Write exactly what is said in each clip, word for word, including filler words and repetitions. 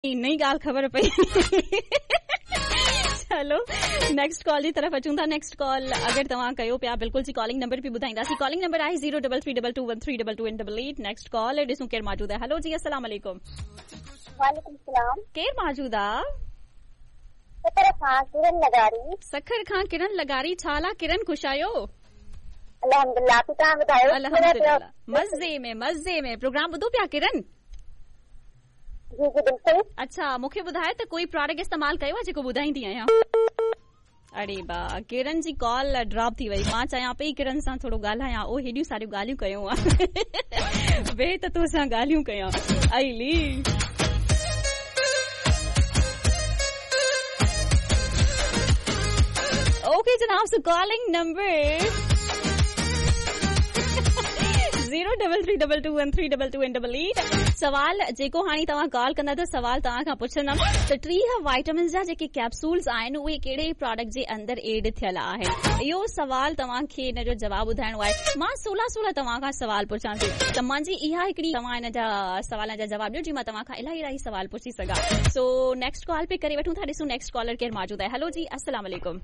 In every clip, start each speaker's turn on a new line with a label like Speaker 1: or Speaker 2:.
Speaker 1: नई ॻाल्हि ख़बर पई। चलो नेक्स्ट कॉल जी तरफ़ अचूं था। नेक्स्ट कॉल अगरि तव्हां कयो पिया, बिल्कुलु जी कॉलिंग नंबर बि ॿुधाईंदासीं। कॉलिंग नंबर आहे zero double three double two one three double two double eight. Next call ॾिसूं केरु मौजूदु आहे। हेलो जी, अस्सलाम वालेकुम।
Speaker 2: वालेकुम सलाम।
Speaker 1: केरु मौजूदु आहे?
Speaker 2: सखर खां किरण लगारी।
Speaker 1: सखर खां किरण लगारी। छा हाल आहे किरण, ख़ुशि आहियो?
Speaker 2: अल्हम्दुलिल्लाह, तव्हां ॿुधायो?
Speaker 1: अल्हम्दुलिल्लाह, मज़े में मज़े में। प्रोग्राम ॿुधो पिया किरण?
Speaker 2: जी जी बिल्कुल।
Speaker 1: अच्छा, मूंखे ॿुधायो त कोई प्रोडक्ट इस्तेमालु कयो आहे जेको ॿुधाईंदी आहियां? अरे बा, किरण जी कॉल ड्रॉप थी वई। मां चाहियां पई किरण सां थोरो ॻाल्हायां, ओ हेॾियूं सारियूं ॻाल्हियूं कयूं वे त तोसां ॻाल्हियूं कयां। आईली ओके जनाब, so calling number zero double three double two one three double two double eight. सवाल जेको हाणे तव्हां कॉल कंदा त सवाल तव्हां खां पुछंदमि त टीह वाइटामिन्स जा जेके कैप्सूल्स आहिनि उहे कहिड़े प्रोडक्ट जे अंदरि एड थियल आहिनि? इहो सवाल तव्हांखे हिन जो जवाबु ॿुधाइणो आहे। मां सोलह सोलह तव्हां खां सवाल पुछां थी त मुंहिंजी इहा हिकिड़ी तव्हां हिन जा सवाल जा जवाबु ॾियो, जीअं मां तव्हां खां इलाही इलाही सवाल पुछी सघां। सो नेक्स्ट कॉल पे करे वठूं था, ॾिसूं नेक्स्ट कॉलर केरु मौजूदु आहे। हेलो जी, अस्सलाम वालेकुम।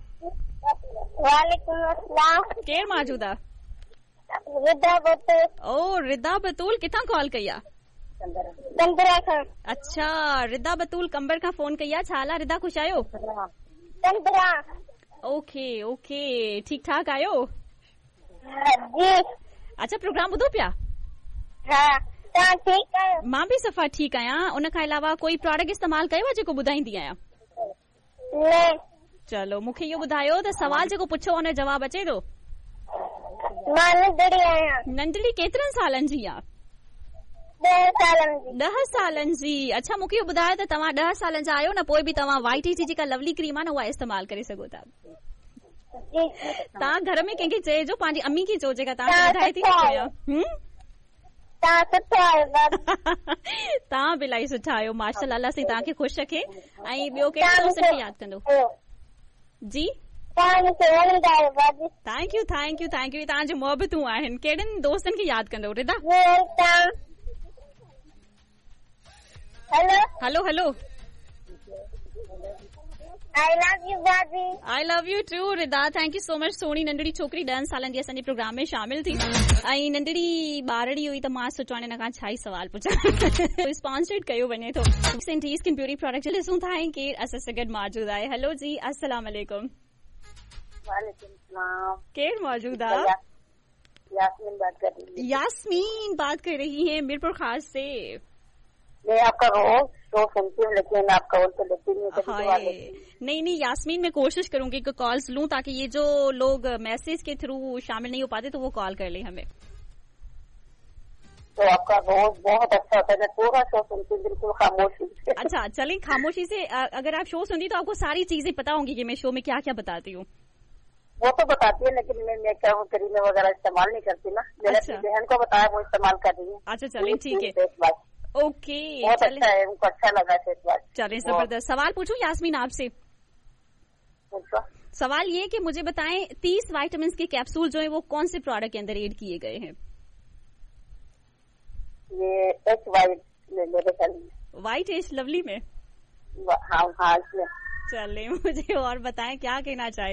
Speaker 2: वालेकुम अस्सलाम।
Speaker 1: केरु मौजूदु आहे?
Speaker 2: रिदा बतूल।
Speaker 1: ओ रिदा बतूल, किथां कॉल कई आहे?
Speaker 2: कंबरा खां।
Speaker 1: अच्छा, रिदा बतूल कंबर खां फोन कई आहे। छा हाल आहे रिदा, ख़ुशि आहियो?
Speaker 2: कंबरा।
Speaker 1: ओके ओके, ठीक ठाक आहियो?
Speaker 2: जी।
Speaker 1: अच्छा, प्रोग्राम ॿुधो पिया?
Speaker 2: हा, तव्हां ठीकु आहियो?
Speaker 1: मां बि सफ़ा ठीकु आहियां। उन खां अलावा कोई प्रोडक्ट इस्तेमालु कयो आहे जेको ॿुधाईंदी आहियां?
Speaker 2: न।
Speaker 1: चलो मूंखे इहो ॿुधायो त सवाल जेको पुछो उन जो जवाबु अचे थो?
Speaker 2: मां नंढड़ी आहियां।
Speaker 1: नंढड़ी केतिरनि सालनि जी आहे?
Speaker 2: ॾह सालनि जी।
Speaker 1: ॾह सालनि जी। अच्छा, मूंखे इहो ॿुधायो त तव्हां ॾह सालनि जा आहियो न, पोइ बि तव्हां वाइट जी जेका लवली क्रीम आहे न उहा इस्तेमालु करे सघो था। तव्हां घर में कंहिंखे चइजो, पंहिंजी अम्मी खे चओ जेका तव्हांखे ॿुधाए थी न।
Speaker 2: तव्हां सुठा आहियो।
Speaker 1: तव्हां बि इलाही सुठा आहियो, माशाअल्लाह। अल्लाह साईं तव्हांखे ख़ुशि रखे। ऐं ॿियो कहिड़े दोस्तनि खे यादि कंदो? जी, thank you thank you thank you. तव्हांजूं मोहबतूं आहिनि। कहिड़नि दोस्तनि खे यादि कंदो Rida?
Speaker 2: Hello
Speaker 1: hello hello.
Speaker 2: I love you भाभी।
Speaker 1: I love you too Rida, thank you so much. सोणी नंढड़ी छोकिरी ॾहनि सालनि जी असांजे प्रोग्राम में शामिल थी ऐं नंढड़ी ॿारड़ी हुई त मां सोचियो हाणे हिन खां छा ई सवाल पुछां। स्पॉन्सर्ड कयो वञे थो सेंटी स्किन ब्यूटी प्रोडक्ट। ॾिसूं था ऐं केरु असां सां गॾु मौजूदु आहे। हेलो जी, अस्सलाम वालेकुम।
Speaker 2: वालेकुम सलाम।
Speaker 1: केरु मौजूद आहे?
Speaker 2: यास्मीन बात कर रही है।
Speaker 1: यास्मीन बात कर रही है मीरपुर खास से।
Speaker 2: मैं आपका रोज शो सुनती हूँ लेकिन आपका कॉल तो लेती नहीं हूँ।
Speaker 1: नहीं नहीं यास्मीन, मैं कोशिश करूंगी कि कॉल्स लूं ताकि ये जो लोग मैसेज के थ्रू शामिल नहीं हो पाते तो वो कॉल कर ले हमें।
Speaker 2: तो आपका रोज बहुत अच्छा होता है, मैं पूरा शो सुनती हूँ बिल्कुल खामोशी से।
Speaker 1: अच्छा चलें, खामोशी से अगर आप शो सुनती तो आपको सारी चीजें पता होंगी कि मैं शो में क्या क्या बताती हूँ।
Speaker 2: वो तो बताती है लेकिन मैं मैं क्या हूँ क्रीम वगैरह इस्तेमाल नहीं करती ना। मैंने अपनी बहन को बताया, वो इस्तेमाल कर रही है।
Speaker 1: अच्छा चलें ठीक है, ओके
Speaker 2: बहुत अच्छा है, उनको अच्छा लगा फेस वॉश।
Speaker 1: चलें जबरदस्त। सवाल पूछूं यास्मीन आपसे? सवाल ये कि मुझे बताएं तीस विटामिन के कैप्सूल जो है वो कौन से प्रोडक्ट के अंदर एड किए गए हैं?
Speaker 2: ये एच वाइट मेरे ख्याल में।
Speaker 1: वाइट एच लवली में?
Speaker 2: हाँ हाँ।
Speaker 1: चले मुझे और बताएं क्या कहना चाहें।